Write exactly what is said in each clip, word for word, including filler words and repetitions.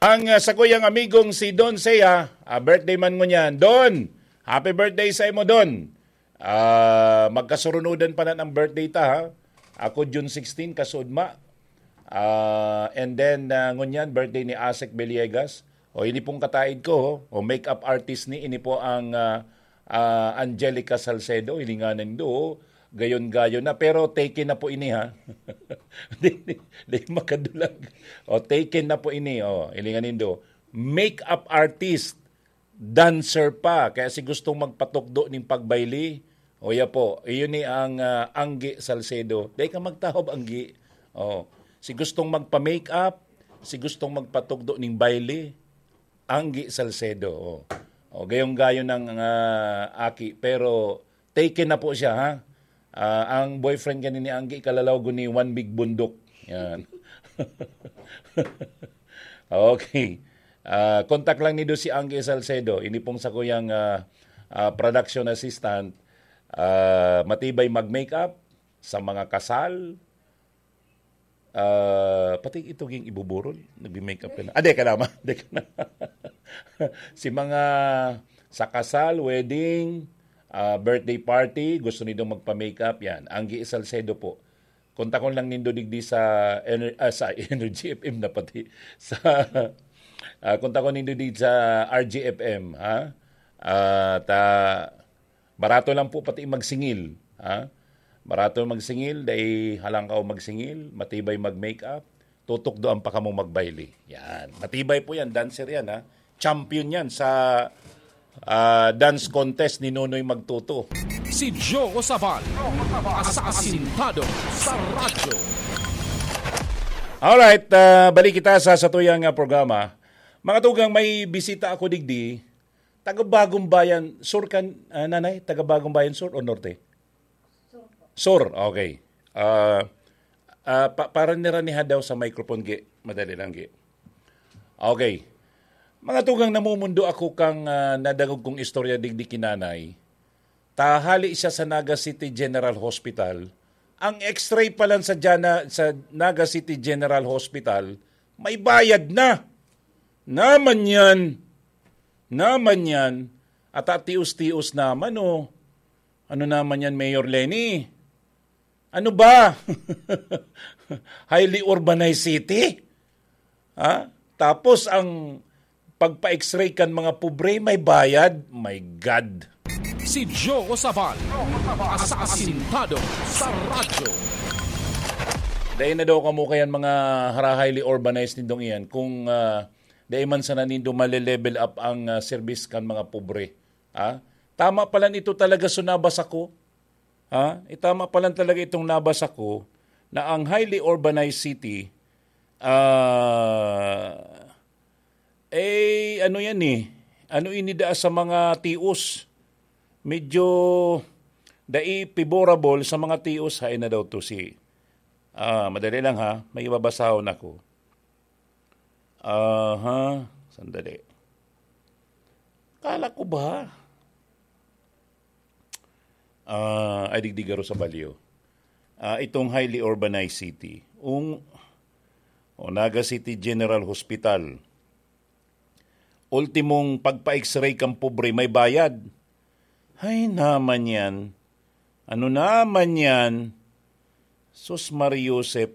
Ang, ah, sakuyang amigong si Don Sea, ah, birthday man ngunyan. Don, happy birthday sa imo, Don. Ah, magkasurunudan pa na ang birthday ta, ha? Ako, June sixteen, kasudma. Ah, and then, ah, ngunyan, birthday ni Asek Villegas. O, ini pong kataid ko, ho. O, makeup artist ni, ini po ang, ah, ah, Angelica Salcedo, hilinganan do, gayon-gayon na, pero taken na po ini, ha? Di, di, di makadulag. O, taken na po ini, o, hilingan nindo. Makeup artist, dancer pa, kaya si gustong magpatukdo ning pagbayli, o ya po, iyon ni ang, ah, Anggi Salcedo. Dai ka magtahob, Anggi. O, si gustong magpa-makeup, si gustong magpatukdo ning bayli, Anggi Salcedo. O, o gayong-gayon ng, ah, aki, pero taken na po siya, ha? Ah, ang boyfriend gani ni Anggi, kalalaw guni, one big bundok. Yan. Okay. Ah, kontak lang nindo si Anggi Salcedo. Ini pong sakuyang, ah, ah, production assistant. Ah, matibay mag-makeup sa mga kasal. Ah, pati ito yung ibuburol, nagme-makeup ka na. Ah, di ka naman. Di ka na. Si mga sa kasal, wedding, ah, birthday party, gusto nindo magpa-makeup, yan. Anggi Salcedo po. Kontakon lang nindo digdi sa Ener-, ah, sa Energy F M na pati. Sa, ah, kontakon nindo digdi sa R G F M, ha? Ah, ta-, barato lang po pati magsingil, ha? Barato magsingil, dai halangkaw magsingil, matibay mag-makeup, tutukdoan pa kamo magbayli. Yan. Matibay po yan, dancer yan, ha? Champion yan sa, ah, dance contest ni Nonoy Magtuto. Si Joe Sabal, asasintado sa radyo. Alright, ah, balik kita sa satuyang, ah, programa. Mga tugang, may bisita ako digdi. Taga Bagong Bayan Sur kan, ah, nanay? Taga Bagong Bayan Sur o Norte? Sur, okay. Ah, ah, pa-, para nira ni hadaw sa microphone, Gi. Madali lang, Gi. Okay. Mga tugang, namumundo ako kang, ah, nadangog kong istorya digdi ki nanay. Ta hali siya sa Naga City General Hospital. Ang X-ray pa lang sa Jana-, sa Naga City General Hospital, may bayad na. Naman yan. Naman yan. At atios-tios naman, oh. Ano naman yan, Mayor Leni? Ano ba? Highly urbanized city? Ha? Tapos ang pagpa-X-ray kan mga pobre, may bayad? My God. Si Joe Sabal, asasintado sa radyo. Dahil na daw kamo kayan mga hara-, highly urbanized nindong iyan, kung, ah, dahil man sana nindo male-level up ang, ah, service kan mga pobre. Ha? Tama pala nito talaga so nabasa ko. Ha? Itama pa lang talaga itong nabasa ko na ang highly urbanized city, ah, eh, ano yan eh? Ano ini daa sa mga tios? Medyo dai favorable sa mga tios. Hain na daw to si, ah, madali lang ha, may ibabasahon ako. Aha, sandali. Kala ko ba? Ah, ay, digdi garo sa Balyo. Ah, itong highly urbanized city. Ung-, o, Naga City General Hospital. Ultimong pagpa-X-ray kang pobre, may bayad. Ay, naman yan. Ano naman yan? Sus, Mari Joseph.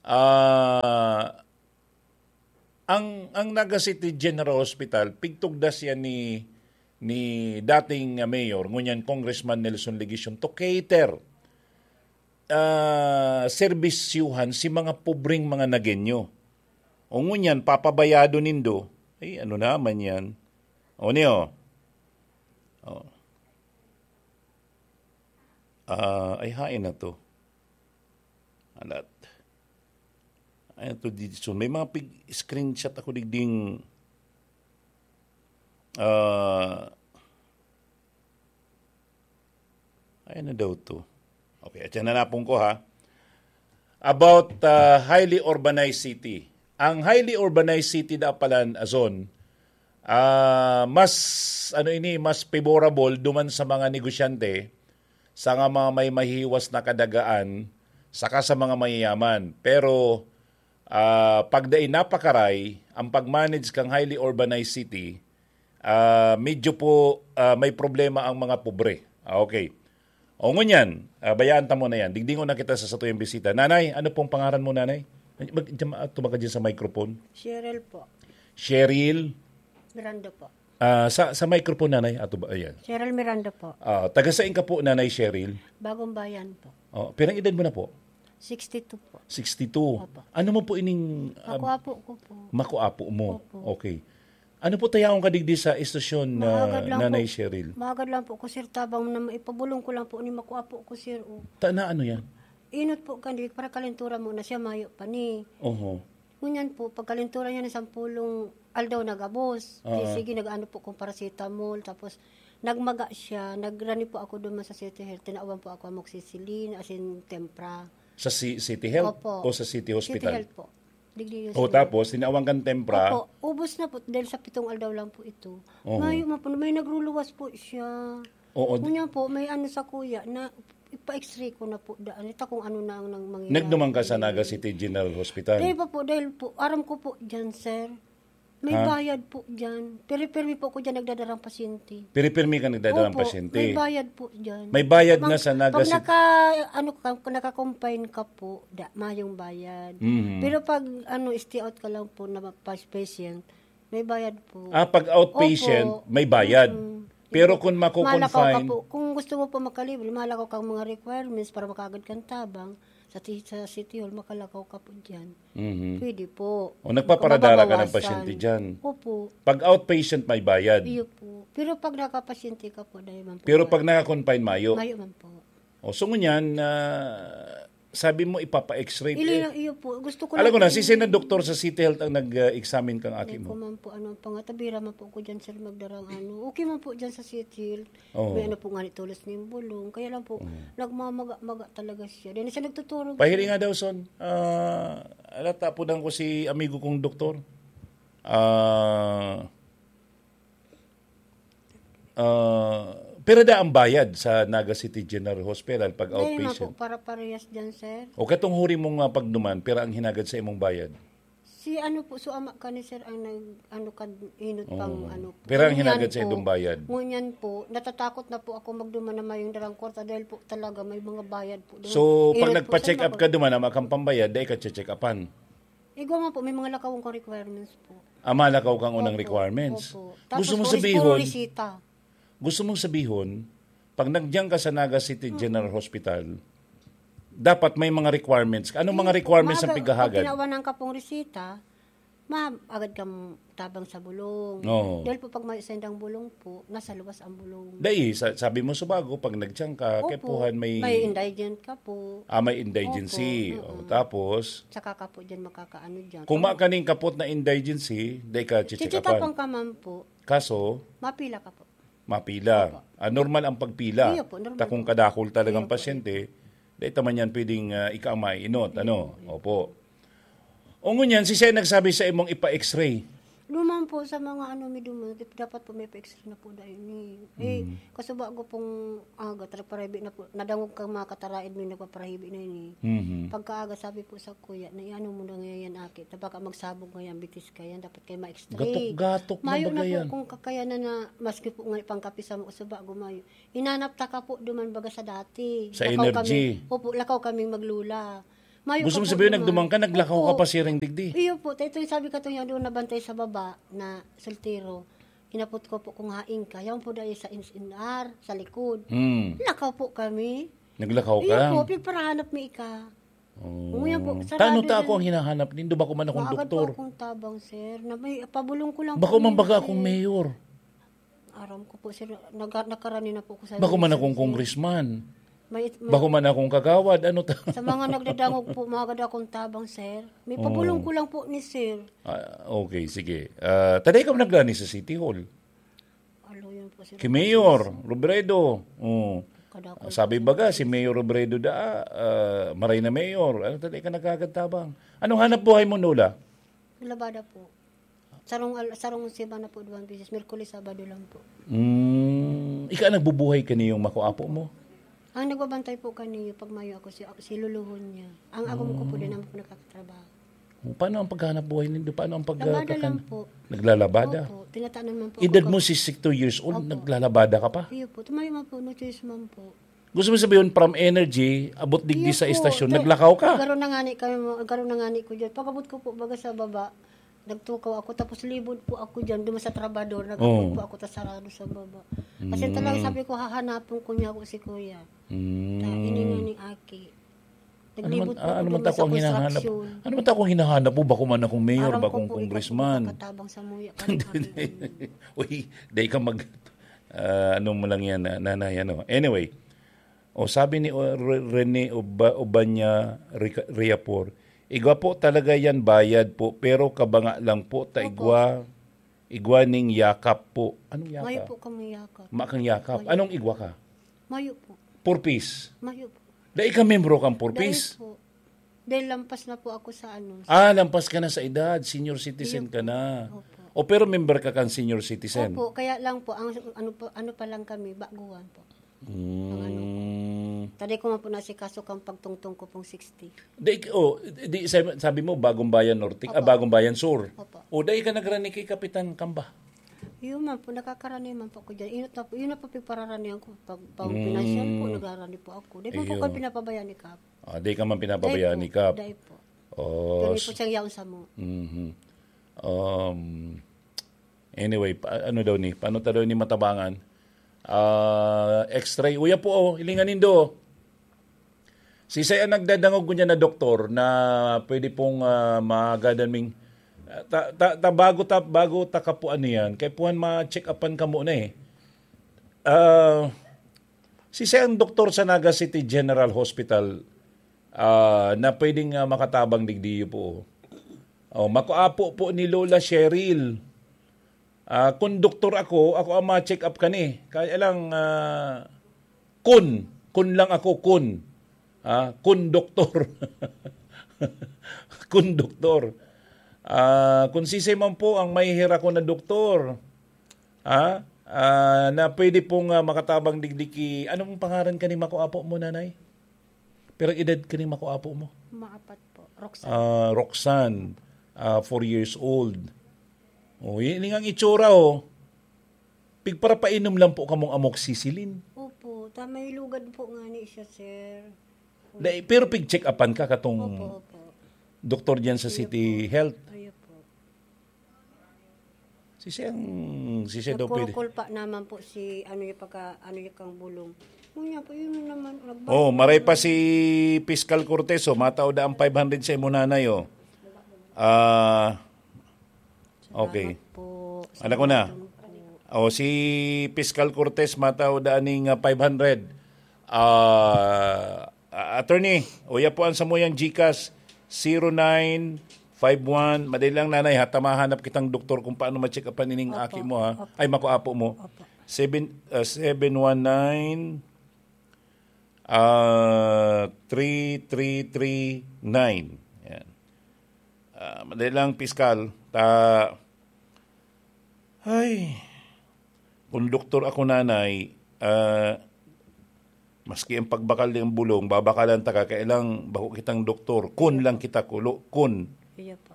Ah, ang, ang Naga City General Hospital, pigtugdas yan ni, ni dating, ah, mayor, ngunyan Congressman Nelson Legacion, to cater, ah, serbisyuhan si mga pobreng mga Nagueño. O ngunyan, papabayado nindo, ay, ano naman yan? O niyo? O. Ah, ay, hain na to. Alat. Ay, ito, dito. May mga pig-screenshot ako digding, ah, ay, ano daw to? Okay, at yan na napon ko, ha. About, ah, highly urbanized city. Ang highly urbanized city da palan, Azon, ah, mas, ano ini, mas favorable duman sa mga negosyante, sa nga mga may mahiwas na kadagaan, saka sa mga mayayaman. Pero, Ah, pag dai napakaray, ang pag-manage kang highly urbanized city, ah, medyo po, ah, may problema ang mga pobre. Ah, okay. O ngunyan, ah, bayaan ta mo na yan. Digdingon na kita sa satuyang bisita. Nanay, ano pong pangaran mo, Nanay? Mag, dyan, ah, tumaga dyan sa microphone. Cheryl po. Cheryl? Miranda po. Ah, sa, sa microphone, Nanay. Ato ba? Ayan. Cheryl Miranda po. Ah, taga saan ka po, Nanay Cheryl? Bagong Bayan po. Oh, pirang edad mo na po? Sixty-two po. Sixty-two. Opo. Ano mo po ining, ah, Makuapo ko po. Makuapo mo? Opo. Okay. Ano po tayawon ka digdi sa estasyon na Maagad lang Nanay po. Cheryl? Maagad lang po ko, sir, tabang na maipabulong ko lang po ni makuapo ko, sir, oh. Ta na ano yan? Inot po, kandi, para kalintura mo na siya, mayo pa ni. Oho. Ngunyan po, pagkalintura niya na sampulong aldaw na gabos. Oo. Di, sige, nag-ano po kong paracetamol, tapos nagmaga siya, nagrani po ako duman sa City Health, tinawan po ako amoxicillin, asin tempra. Sa si-, City Health Opo. o sa City City Hospital? Health po. Digdi O, Hospital. tapos, tinawan kang tempra? Opo, ubos na po, dahil sa pitong aldaw lang po ito. Oo. Mayo man po, may nagruluwas po siya. Oo, di- Ngunyan po, may ano sa kuya, na ipa-x-ray ko na po daan. Ito kung ano na ang nang mangyayari. Nagduman ka sa Naga City General Hospital? Di ba po, dahil po, aram ko po dyan, sir. May Ha? bayad po dyan. Piri-pirmi po ko dyan nagdadarang pasyente. Piri-pirmi ka nagdadarang Opo, pasyente? may bayad po dyan. May bayad Pag, na sa Naga pag City? naka, ano ka, naka-confine ka po, da, mayong bayad. Mhm. Pero pag, ano, stay out ka lang po na pa-, patient, may bayad po. Ah, pag outpatient, Opo. may bayad. Mm. Pero kung Malakaw ka mako-confine po. Kung gusto mo po makalibre, malakaw kang mga requirements para makaagad kang tabang sa ti-, sa City Hall, makalakaw ka po dyan. Mhm. Pwede po. O, nagpaparadara ka ng Mababawasan. pasyente dyan? Opo. Pag outpatient, may bayad? Iyo po. Pero pag nakapasyente ka po, dahil man po Pero ba? pag naka-confine, mayo? Mayo man po. O, so ngunyan, ah, sabi mo, ipapa-x-ray. Ili Eh, lang, iyo po. Gusto ko alam lang ko na, po si yung Sina Doktor sa City Health ang nag-examine kang aki Ay, mo? ko man po, ano, ang pangatabira man po ko dyan, sir, magdarang ano. Okay man po dyan sa City Health. Oo. May ano po nga ni tulos ning bulong. Kaya lang po, Oo. nagmamaga-maga talaga siya. Dahil siya nagtuturo. Pahiri nga daw, son. Ah, alata po lang ko si amigo kong doktor. Ah, ah, pira da ang bayad sa Naga City General Hospital pag Dahil nga outpatient? po, para parehas dyan, sir. O katong huri mong, ah, pagduman, pira ang hinagad sa imong bayad? Si ano po, so ama ka ni sir ang nag, ano, kan, inot pang Oo. ano po. Pira ang Ngunyan hinagad sa po, idong bayad? ngunyan po, natatakot na po ako magduman na mayong darang kwarta dahil po talaga may mga bayad po doon. So, pag Inot po, nagpa-check sir, up ako ka duman, ama kang pambayad, dai ka check upan? Igwa nga po, may mga lakawon kong requirements po. Ah, malakaw kang unang Opo, requirements. opo. Tapos Gusto mo po, res-, puro sabihon, resita. gusto mong sabihon, pag nagyan ka sa Naga City Mm. General Hospital, dapat may mga requirements ka. Anong mga Hindi po, requirements ang maaga, pighahagad? pag tinawanan ka pong resita, ma-, agad kang tabang sa bulong. Oo. Dahil po pag may sendang bulong po, nasa luwas ang bulong. Dai, sa-, sabi mo sa bago, pag nagyan ka, Opo, kaipuhan may may indigent ka po. Ah, may indigency. Opo, O, oo. tapos? Tsaka ka po dyan makakaano dyan. Kung Kung makaning kapot na indigency, dai ka chichikapan. Chichikapan ka man po. Kaso? Mapila ka po. Mapila. Opo. Ah, normal ang pagpila. Iyo po, normal Ta kung po. kadakol talagang Iyo po, pasyente, iyo po. dai ta man yan pwedeng, ah, ika ang mainot, Iyo ano? po, iyo po. Opo. O ngunyan, si Sen nagsabi sa imong ipa-x-ray? Duman po sa mga ano, may duman, dapat po may pa-x-ray na po dahil ni. Eh, Mm. kaso bago pong aga, talaga parahibi na po, nadangog kang mga kataraid, may nagpaparahibi na yun eh. Mhm. Pagkaaga, sabi po sa kuya, na iano mo na ngayon, aki, ta baka magsabog ngayon, bitis ka yan, dapat kayo ma-x-ray. Gatok-gatok na Mayo na baga po yan. kung kakayanan na, maski po nga ipangkapi sa mga suba, gumayo. Hinanap ta ka po duman baga sa dati. Sa Lakaw energy. kami. Opo, lakaw kaming maglula. Mayo Gusto ka mo po sabihin, duman. nagduman ka, naglakaw ka Opo. pa siring digdi? Iyo po, ta ito yung sabi ka to yung doon nabantay sa baba na soltero. Hinapot ko po kung hain ka. Yan po dahil sa ins-, in-, R, sa likod. Hmm. Lakaw po kami. Naglakaw ka Iyo lang? po, piparahanap mi ika. Oh. Ngunyan po, Tano sarado ta ako din. ang hinahanap nindo? Bako man akong Maagad doktor. po akong tabang, sir, na may pabulong ko lang Bako po man yun, baga akong sir. mayor. Aram ko po, sir, nag-, nakarani na po ko sa Bako man minsan, akong sir. congressman. May, may, Bako man akong kagawad, ano ta? Sa mga nagdadangog po, maagad akong tabang, sir. May pabulong Oh. ko lang po ni sir. Ah, okay, sige. Ah, taday ka nagrani sa City Hall? Alo, yun po, sir. Ki Mayor Robredo. Oh. Kadakol Sabi po. baga, si Mayor Robredo da, ah, maray na mayor. Ano taday ka nagkakatabang? Anong hanap buhay mo, Nola? Labada po. Sarong al-, sarong semana po, duwang beses. Miyerkules, Sabado lang po. Mm, ika nagbubuhay kaniyong makuapo mo? Ang nagbabantay po kaniyo, pag mayo ako, si, si luluhon niya. Ang agom ko po, Ah. din naman po nakakatrabaho. Paano ang paghahanap buhay nindo? Paano ang pag- Labada kakan- lang po. Naglalabada? Opo, tinatanan man po Edad ako. mo sixty-two years old, Opo. Naglalabada ka pa? Iyo po, tumayo man po, no choice man po. Gusto mo sabihin, from Energy, abot digdi Iyo sa po, istasyon, ta- naglakaw ka? Garo na nga ni kami, mo- garo na nga ni ko dyan. Pag-abot ko po, baga sa baba, nagtukaw ako, tapos libod po ako dyan, duman sa trabador, nagabot Oo. po ako, tas sarado sa baba. Kasi talaga sabi ko, hahanapon ko niya ako si kuya. Mm. Ta, ini nga ni Aki. Ano man, Naglibot po ah, ano ako man duman ako sa ang hinahanap? construction. Ano man ako hinahanap mo? Bako man akong mayor, Aram bakong ko po, congressman. Ikaw po makatabang sa muya. Kaya kami Uy, dai ka mag... ah, ano mo lang yan, ah, nanay, ano. Anyway, o sabi ni o, Re- Rene Oba, Obanya Rica- Riapor, igwa po talaga yan bayad po, pero kabanga lang po, ta Opo. igwa, igwa ning yakap po. Anong yakap? Mayo po kami yakap. Makang yakap. Mayo. Anong igwa ka? Mayo po. Purpose. Mayo po. Dai ka membro kang Purpose? Dahil po. Dahil lampas na po ako sa ano. Ah, lampas ka na sa edad. Senior citizen Iyo ka na. Opo. O pero member ka kang senior citizen? Opo, kaya lang po, ang ano pa, ano pa lang kami, baguhan po. Mm. Taday ko man po nasikaso kang pagtungtong ko pong sixty. Di, oh, di, sabi, sabi mo, Bagong Bayan Norte, ah, Opo. Bagong Bayan Sur. Opo. O dai ka nagrani kay Kapitan Kamba? Yun man po, nakakarani man po ako dyan. Yun na po, yun na po pagpararanihan ko. Pag, pag Mm. financial po, nagrarani po ako. Di po po Iyo. kami pinabayaan ni Kap. Ah, di ka man pinapabayaan ni Kap. Dahil po. Oh, Pero po siyang yaon sa mo. Mhm. Um, anyway, pa, ano daw ni? Paano ta daw ni matabangan? Ah, X-ray. Uya po, oh, hilingan nindo. Si Sir ang nagdadangog ko niya na doktor na pwede pong ah, maagadan ming ah, ta, ta, ta, bago ta bago ta kapuan niyan, kay puhan ma-check upan ka muna eh. Ah, si Sir ang doktor sa Naga City General Hospital ah, na pwedeng ah, makatabang digdiyo po. Oh, makuapo po ni Lola Cheryl. Ah, kun doktor ako, ako ang ma-check up kani. Kaya lang, ah, kun, kun lang ako, kun. Ah, kun doktor. Kun doktor. Ah, kun sisay man po ang may hira ko na doktor. Ah, ah, na pwede pong ah, makatabang digdi ki, anong pangaran ka ni makuapo mo, nanay? Pero edad ka ni makuapo mo? Maapat po. Roxanne. Ah, Roxanne, ah, four years old. O, yun ang itsura, oh. Pigparapainom lang po kamong amoxicillin. Opo, ta may lugad po nga ni siya, sir. Dai, pero pig-check-upan ka katong Opo, opo. doktor diyan sa City Health. Ayo po. Si siyang, si siya daw pwede. Nagkurukul pa naman po si, ano yung pagka, ano yung kang bulong. Ngunya po, yun naman. Nagba- Oh, maray pa si Piskal Cortez, oh, matao da ang five hundred sa imo nanay, oh. Ah, okay. Salamat po. Anak ko na. Salamat po. Oh, si Piskal Cortez, matao da aning ah, five hundred. Ah, ah, attorney, uya po ang samuyang GCash, zero nine five one. Madali lang, nanay, ha? Tamahanap kitang doktor kung paano ma-check upan ining Opo, aki mo, ha? opo. Ay, makuapo mo. Opo. Seven, ah, seven one nine, ah, three three three nine. Yan. Ah, madali lang, Piskal. Ta, ay, kung doktor ako, nanay, ah, maski ang pagbakal ng bulong, babakalan ta ka, kailang bako kitang doktor. Kun lang kita kulo, kun. Iya po.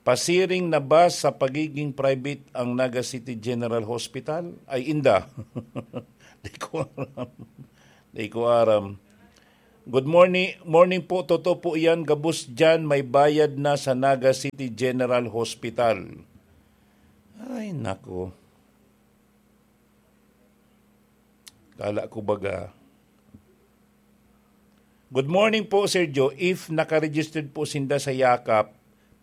Pasiring na ba sa pagiging private ang Naga City General Hospital? Ay, inda. Di ko aram. Di ko aram. Good morning, morning po. Totoo po yan. Gabos dyan, may bayad na sa Naga City General Hospital. Ay, nako. Kala ko baga. Good morning po, Sir Joe. If naka-registered po sinda sa Yakap,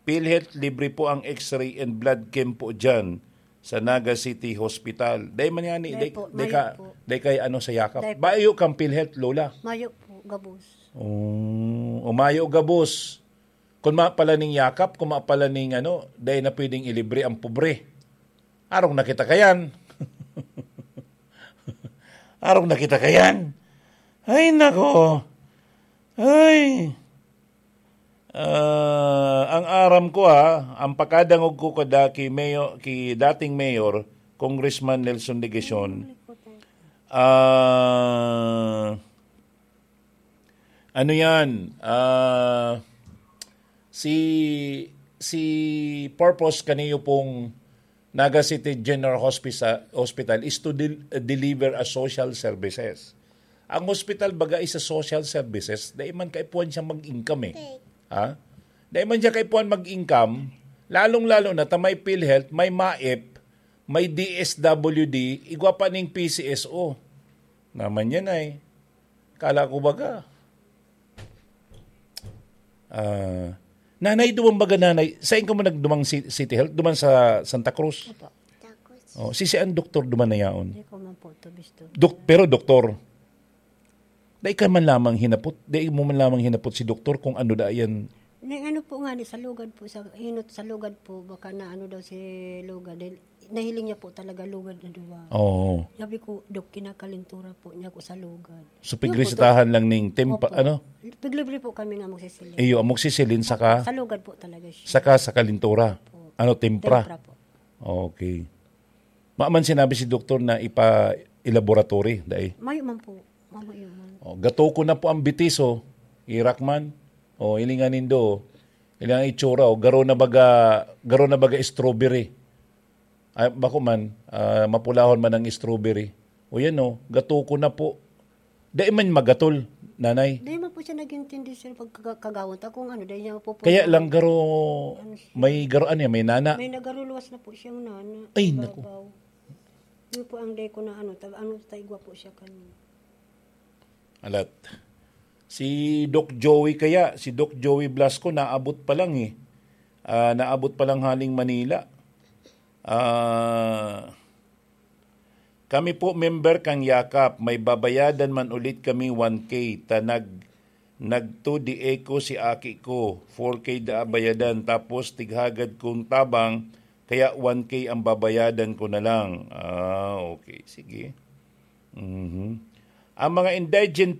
PhilHealth, libre po ang X-ray and blood chem po dyan sa Naga City Hospital. Dai man yan, Dai dai, po, dai mayo ka, po. Dai kay ano sa Yakap. Dai po. Bayo kang PhilHealth, Lola. Mayo po, gabos. Oh, o mayo gabos. Kung ma pala ning Yakap, kung ma pala ning ano, dai na pwedeng ilibre ang pobre. Arong na kita kayan. Arong na kita kayan. Ay, nako. Ay. Ah, ang aram ko, ha, ang pakadangog ko kada ki Mayor, ki dating Mayor, Congressman Nelson Legacion, ah, ano yan? Ah, si si purpose kaniyo pong Naga City General Hospital, Hospital is to del- deliver a social services. Ang hospital baga is a social services, dai man kaipuhan siya mag-income eh. Ha? Dai man siya kaipuhan mag-income, lalong-lalo na ta may PhilHealth, may MAIP, may D S W D, igwa pa ning P C S O. Naman yan ay. Kala ko baga. Ah, nanay, duman baga nanay, sain ka mo nagdumang si- City Health? Duman sa Santa Cruz? Opo. Oh, si si ang doktor duman na yaon? Hindi ko man po ito gusto. Dok, pero doktor. Dai ka man lamang hinapot, dai mo man lamang hinapot si doktor kung ano da yan. Nang ano po nga ni, sa lugad po, sa inot sa lugad po, baka na ano daw si lugad. Dahil nahiling niya po talaga lugad na duwa. Oo. Sabi ko, "Dok, kinakalintura po niya ako sa lugad." So, Yun po, pigresetahan lang ning tempa, Opo. ano? Piglibre po kami nga magsisilin. Iyo, amoxicillin saka, Sa lugad po talaga siya. saka sa kalintura. Opo. Ano, tempra? Tempra po. Okay. Maman sinabi si doktor na ipa-laboratory, dai? Mayo man po. Mamayo man. Oh, gato ko na po ang bitiso, irak man. Oh, ilingan nindo. Ilang itsura, oh, garo na baga, garo na baga strawberry. Ay, bako man, ah, mapulahon man ang strawberry. O yan, oh, gato ko na po. Dai man magatol, nanay. Dai man po siya nag-intindi, sir, pag kaga- kagawon ta kung ano, dai niya mapupuno. Kaya lang garo, Ano siya? may garo, ano yan, may nana. May nagaruluwas na po siyang nana. Ay, Sa naku. babaw. Yun po ang day ko na ano, tag ano, taigwa po siya kanina. Alat. Si Doc Joey kaya, si Doc Joey Blasco, naabot pa lang eh. Ah, naabot pa lang haling Manila. Ah, kami po member kang Yakap, may babayadan man ulit kami one K, ta nag, nagto di eko si aki ko, four K da bayadan, tapos tighagad kong tabang, kaya one K ang babayadan ko na lang. Ah, okay, sige. Mhm. Ang mga indigent